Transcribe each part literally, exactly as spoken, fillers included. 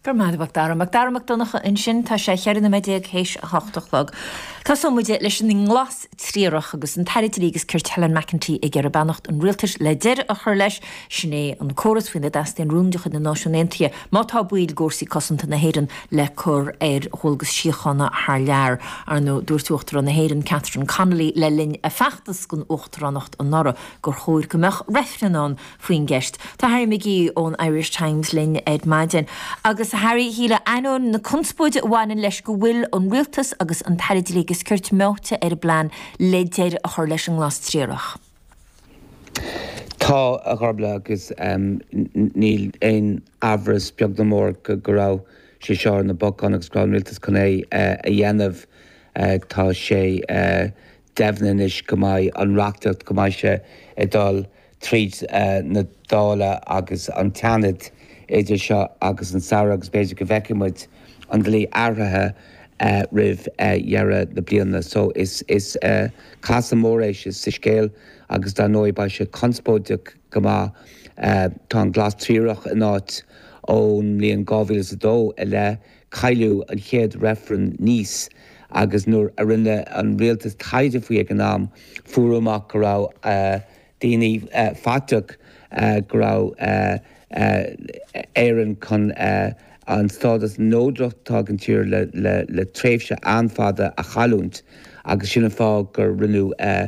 Go raibh maith agat, Macdara. Macdara Mac Donncha ansin tá sé cheithre nóiméad déag théis a hocht a chlog. Tosóidh muid leis an nglas triarach agus an tAire Dlí agus Cirt Helen McEntee ag iarraidh beannacht an rialtais le deireadh a chur leis sin é an córas faoina dteastaíonn rún de chuid na Náisiún Aontaithe má tá baill d'fhórsaí cosanta na hÉireann le cur ar dhualgas síochána thar lear. Ar ndóigh dúirt Uachtarán na hÉireann Catherine Connolly le linn a feachtas don uachtaránacht anuraidh gur chóir go mbeadh reifreann ann faoin gceist. Tá Harry McGee ón Irish Times linn ar maidin. Agus Harry shíle ainneoin na conspóide a bhaineann leis go bhfuil an rialtas agus an tAire Dlí agus Cirt meáite ar an bplean le deireadh a chur leis an nglas triarach. Tá a Ghormfhlaith agus um, níl aon amhras beag ná mór go go raibh sé seo ar na bacáin agus go raibh an rialtas chun é uh, a dhéanamh uh, tá sé uh, deimhnithe anois go mbeidh an reachtaíocht go mbeidh sé ag dul tríd uh, na Dála agus an tSeanad idir seo agus an samhradh agus b'fhéidir go bhfeicfidh muid an dlí athraithe uh, roimh uh, dheireadh na bliana. So is is uh, casadh mór é sa scéal agus dar ndóigh beidh sé conspóideach go maith uh, tá an glas triarach in áit ón mbliain dhá mhíle is a dó i leith cailleadh an chéad reifreann Nice agus nuair a rinne an rialtas taighde faoi ag an am fuair amach go raibh uh, daoine uh, faiteach uh, go raibh uh, uh, Éireann chun uh, an stádas neodrach atá ag an tír le, le, le tréimhse an-fhada a chailliúint agus sin an fáth gur rinneadh uh,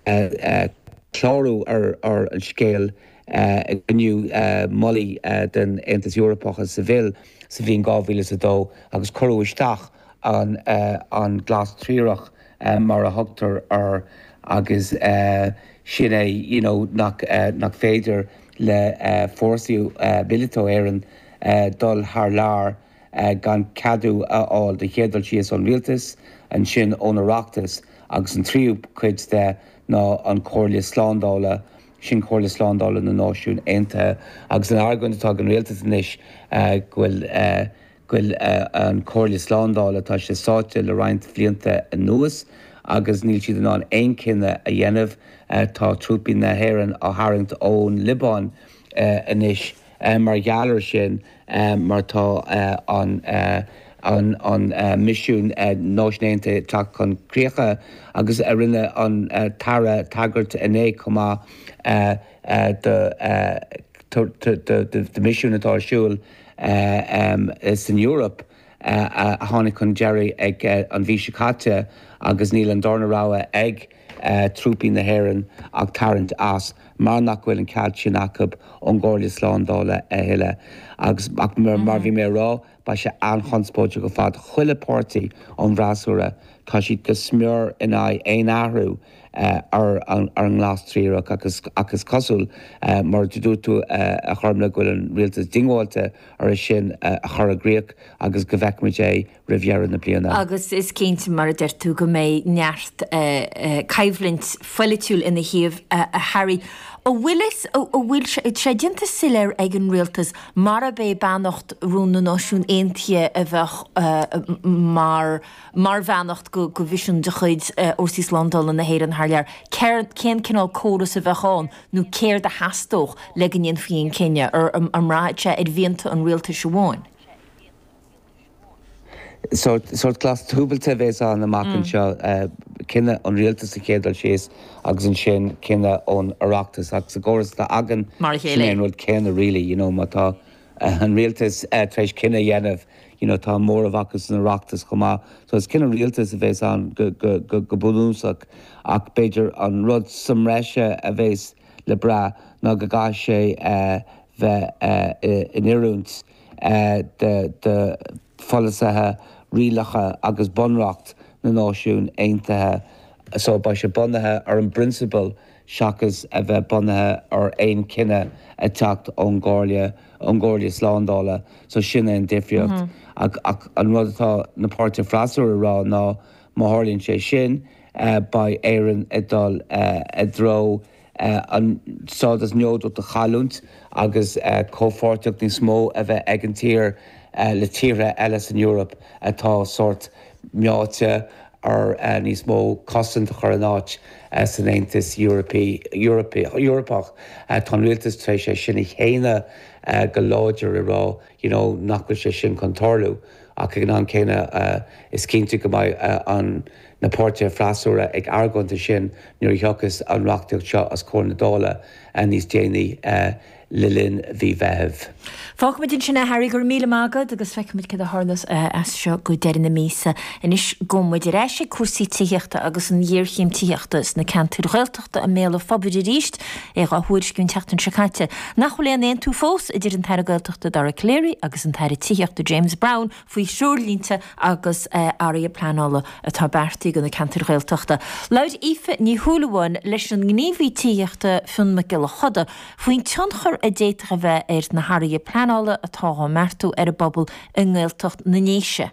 uh, uh, clárú ar, ar an scéal uh, gniú uh, moltaí uh, den Aontas Eorpach sa bhil sa bhliain dhá mhíle a dó agus cuireadh isteach an, uh, an glas triarach uh, mar a thugtar air agus uh, sin é you know, nach, uh, nach féidir le uh, fórsaí uh, míleata Éireann uh, dul thar lear uh, gan ceadú a fháil de chéad dul síos ón rialtas ansin ón Oireachtas agus an tríú cuid de ná an Chomhairle Slándála sin Comhairle Slándála na Náisiún Aontaithe agus an argóint atá ag an rialtas anois uh, go bhfuil uh, go bhfuil uh, an Chomhairle Slándála tá sé sáite le roinnt blianta anuas agus níl siad in ann aon chinneadh a dhéanamh uh, tá trúpaí na hÉireann á tharraingt ón Liobáin uh, anois uh, mar gheall air sin uh, mar tá uh, an uh, an an uh, misiún uh, Náisiún Aontaithe teacht chun críche agus a rinne an uh, tAire tagairt inné chomh maith uh, uh, de uh, de misiún atá ar siúl uh, um, san Eoraip uh, a tháinig chun deiridh ag uh, an mhí seo caite agus níl an darna rogha ag uh, trúpaí na hÉireann ach tarraingt as mar nach bhfuil an cead sin acu ón gComhairle Slándála a thuilleadh agus ach mar, mar bhí mé ag rá beidh sé an-chonspóideach go fad chuile pháirtí ón bhfreasúra tá siad go smior in aghaidh aon athrú uh, ar an, ar an nglas triarach agus agus cosúil uh, mar dúirt tú uh, a Ghormfhlaith go bhfuil an rialtas diongbháilte ar sin uh, a chur i gcrích agus go bhfeicfimid é roimh dheireadh na bliana. Agus is cinnte mar a deir tú go mbeidh neart uh, uh, coimhlint pholaitiúil ina thaobh uh, a Harry. An bhfuil an bhfuil sé déanta soiléir ag an rialtas mar a bé beannacht rún na Náisiún Aontaithe a bheith uh, mar mar bheannacht go go mhisiún de chuid Fhórsaí Slándála na hÉireann thar lear. Cén cineál córas a bheith ann nó céard a theastódh le go ndéanfaí an cinneadh ar an mbraitheann sé ar mhianta an rialtais amháin. Sort sort glas dúbailte bheas ann amach mm. anseo uh, cinneadh an rialtas a chéad dul síos agus ansin cinneadh ón Oireachtas agus sa gcóras atá againn Mar a chéile. an rud céanna really, you know, má tá uh, an rialtas uh, tar éis cinneadh a dhéanamh you know, tá móramh acu san Oireachtas chomh maith. So is cinneadh rialtas a bheas ann go, go, go, go bunúsach ach b'fhéidir an rud sa mbreis a bheas le brath ná go gcaithfidh sé uh, bheith uh, in oiriúint uh, de, de pholasaithe rialacha agus bunreacht na Náisiún Aontaithe so beidh sé bunaithe ar an bprionsabal seachas a bheith bunaithe ar aon chinneadh ag teacht ón gComhairle ón gComhairle Slándála so sin é an difríocht mm -hmm. ach, ach an rud atá na páirtithe freasúra ag rá ná má tharlaíonn sé sin uh, beidh Éirinn ag dul uh, i dtreo uh, an stádas neodrach a chailliúint agus uh, comhpháirtíocht níos mó a bheith ag an tír uh, le tíortha eile san Eoraip atá sort meáite ar uh, níos mó cosaint a chur in áit san Aontas Eorpach. Tá an rialtas tar éis é sin a shéanadh go láidir ag rá you know, nach bhfuil sé sin chun tarlú ach ag an am céanna is cinnte go mbeidh an na páirtithe freasúra ag argóint sin nuair a thiocfas an reachtaíocht seo os comhair na Dála níos déanaí le linn mhí Mheithimh. Fágfaimid ansin é Harry go raibh míle maith agat agus feicfimid cad a tharlós as seo go deireadh na míosa. Anois gabhfaidh muid ar ais ag cúrsaí tithíochta agus an ghéarchéim tithíochta sna ceantair Ghaeltachta i mbéal an phobail arís é dhá thuairisciú an tseachtain seo caite. Nach bhfuil aon aontú fós idir an tAire Gaeltachta Dara Calleary agus an tAire Tithíochta James Browne faoi threoirlínte agus athruithe pleanála atá beartaithe do na ceantair Ghaeltachta. Labhair Aoife Ní Shúilleabháin leis an ngníomhaí tithíochta Fionn Mac Giolla Choda faoin tionchar a d'fhéadfadh a bheith ar na hathruithe pleanála atá á mbeartú ar an bpobal i nGaeltacht na nDéise.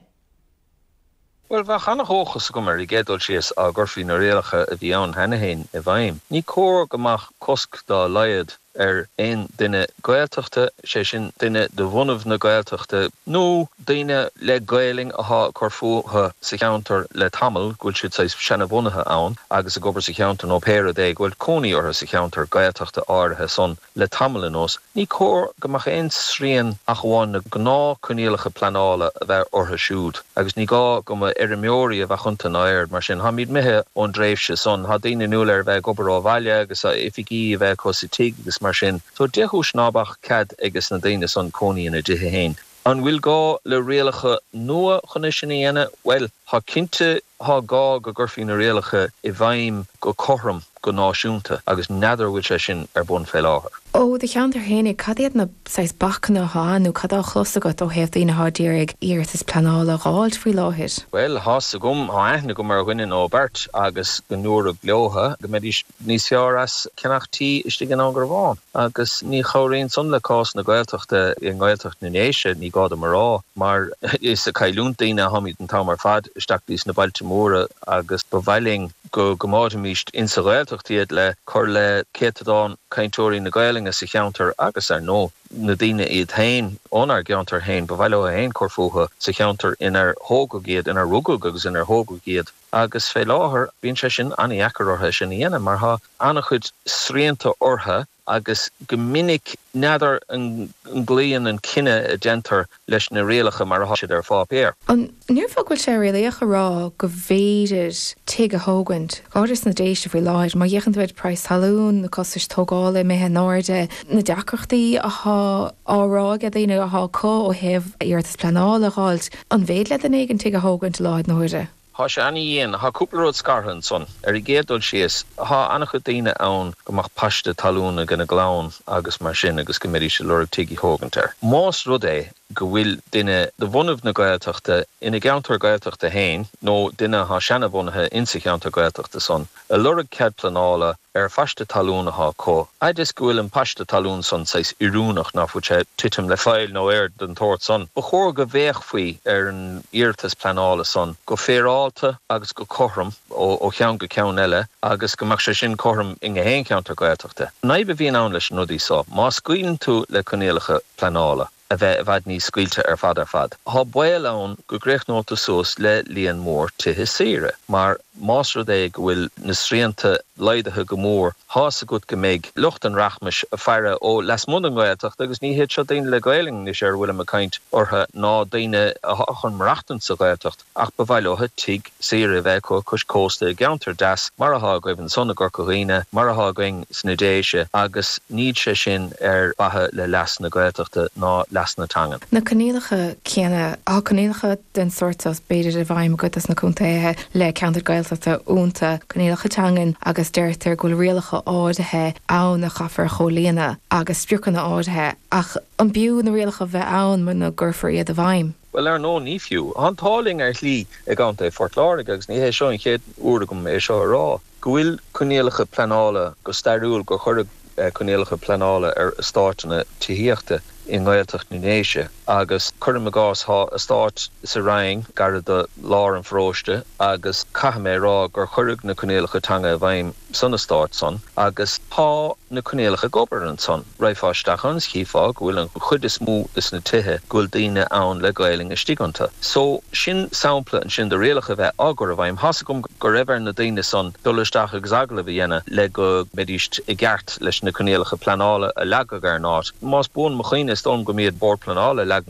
Well bheadh an-dóchas agam ar an gcéad dul síos dá gcuirfí na rialacha a bhí ann cheana féin i bhfeidhm. Ní cóir go mbeadh cosc dá laghad ar aon duine Gaeltachta, sé sin duine de bhunadh na Gaeltachta nó daoine le Gaelainn atá ag cur fúthu sa cheantar le tamall go bhfuil siad saghas seanbhunaithe ann agus ag obair sa cheantar nó pé rud é go bhfuil cónaí orthu sa cheantar Gaeltachta áirithe san le tamall anuas. Ní cóir go mbeadh aon srian ach amháin na gnáthchoinníollacha pleanála a bheith orthu siúd agus ní gá go mba fheirmeoirí a bheadh iontu ná aon rud mar sin. Táimid imithe ón dtréimhse san, tá daoine inniúil ar bheith ag obair ó bhaile agus oifigí a bheith acu sa tigh agus mar sin. So dé chúis ná beadh cead ages na daoine san cónaí ina dtithe féin. An bhfuil gá le rialacha nua chun é sin a dhéanamh? Well, tá cinnte tá gá go gcuirfí na rialacha i bhfeidhm go cothrom go náisiúnta agus n'fheadar bhfuil sé sin ar bun fé láthair. Ó do cheantar féinig cad iad na saghas bacanna atá nó cad á chlos agat ó thaobh daoine atá ag iarraidh iarratas pleanála a fháilt faoi láthair. Well tá's agam tá aithne agam ar dhuine nó beirt agus go ndúradh leotha go mbeidís níos fearr as ceannach tí istigh in Indreabhán agus ní chabhraíonn san le cás na Gaeltachta i nGaeltacht na nDéise ní gá dom a rá mar is ag cailliúint daoine atáimid an t-am ar fad isteach dtí na bailte móra agus ba mhaith linn go gcoimeádfaimis insa Ghaeltacht iad le cur le céatadán cainteoirí na Gaelainne sa cheantar agus ar ndóigh na daoine iad féin ónár gceantar féin ba mhaith leo féin cur fúthu sa cheantar inar thógadh iad inar rugadh agus inar thógadh iad agus fé láthair bíonn sé sin an-deacair orthu sin a dhéanamh mar tá an-chuid srianta orthu agus go minic n'fheadar an gcloíonn an cinneadh a déantar leis na rialacha mar atá siad ar pháipéar. An ndéarfá go bhfuil sé réalaíoch a rá go bhféidir tigh a thógaint, go háirithe sna Déise faoi láthair, má fhéachann tú ar praghas talún, na costais tógála imithe in airde, na deacrachtaí atá á rá ag daoine atá acu ó thaobh iarratas pleanála a fháilt, an féidir le duine éigin tigh a thógaint i láthair na huaire? Tá sé an-dian tá cúpla rud scartha ansan ar an gcéad dul síos tá an-chuid daoine ann go mbeadh paiste talún ag ina gclann agus mar sin agus go mbeidís ag lorg tigh a thógaint air. Más rud é go bhfuil duine de bhunadh na Gaeltachta ina gceantar Gaeltachta féin nó duine atá seanbhunaithe insa cheantar Gaeltachta san, ag lorg cead pleanála ar phaiste talún atá acu, fhad is go bhfuil an paiste talún san saghas oiriúnach ná fuil sé titim le faill nó aon rud den tsórt san. Ba chóir go bhféachfaí ar an iarratas pleanála san go féaráilte agus go cothrom ó ó cheann go ceann eile agus go mbeadh sé sin cothrom i ngach aon cheantar Gaeltachta. An fhadhb a bhíonn ann leis na rudaí seo, má scaoileann tú le coinníollacha pleanála, a bheith i bhfad níos scaoilte ar fad ar fad. Tá baol ann go gcríochnódh tú suas le líon mór tithe saoire, mar más rud é go bhfuil na srianta laghdaithe go mór, tá's agat go mbeidh lucht an rachmais ag faire ó lasmuigh den Ghaeltacht agus ní hiad seo daoine le Gaelainn anois ar a bhfuilim ag caint orthu ná daoine atá chun maireachtaint sa Ghaeltacht ach ba mhaith leo tigh saoire a bheith acu cois cósta i gceantar deas mar atá agaibh ansan i gCorca Dhuibhne, mar atá againn sna Déise agus níl sé sin ar mhaithe le leas na Gaeltachta ná leas na teangan. Na coinníollacha céanna, tá coinníollacha den sórt seo b'fhéidir i bhfeidhm i gcuid de na contaetha le ceantar Gaeltachta iontu, coinníollacha teangan agus deirtear go bhfuil rialacha áirithe ann a chaithfear a chomhlíonadh agus spriocanna áirithe ach an b'fhiú na rialacha bheith ann muna gcuirfear iad i bhfeidhm? Bhuel ar ndóigh ní fiú. Tá an t-ádh linn ar shlí i gContae Phort Láirge agus ní hé seo an chéad uair agam é seo a rá, go bhfuil coinníollacha pleanála go stairiúil gur cuireadh coinníollacha pleanála ar eastáiteanna tithíochta i nGaeltacht na nDéise agus cuirim i gcás tá eastát sa Rinn gar do lár an pharóiste agus caithfidh mé a rá gur cuireadh na coinníollacha teanga i bhfeidhm san eastát san agus tá na coinníollacha ag obair ansan. Raghfá isteach ann is chífeá go bhfuil an chuid is mó de na tithe go bhfuil daoine ann le Gaelainn istigh iontu. So sin sampla ansin de rialacha bheith á gcur i bhfeidhm. Tá's agam go raibh ar na daoine san dul isteach agus agallamh a dhéanamh le go mbeidís i gceart leis na coinníollacha pleanála a leagadh ar an áit. Más buan mo chuimhne is dóigh liom go mb'iad Bord Pleanála a leag na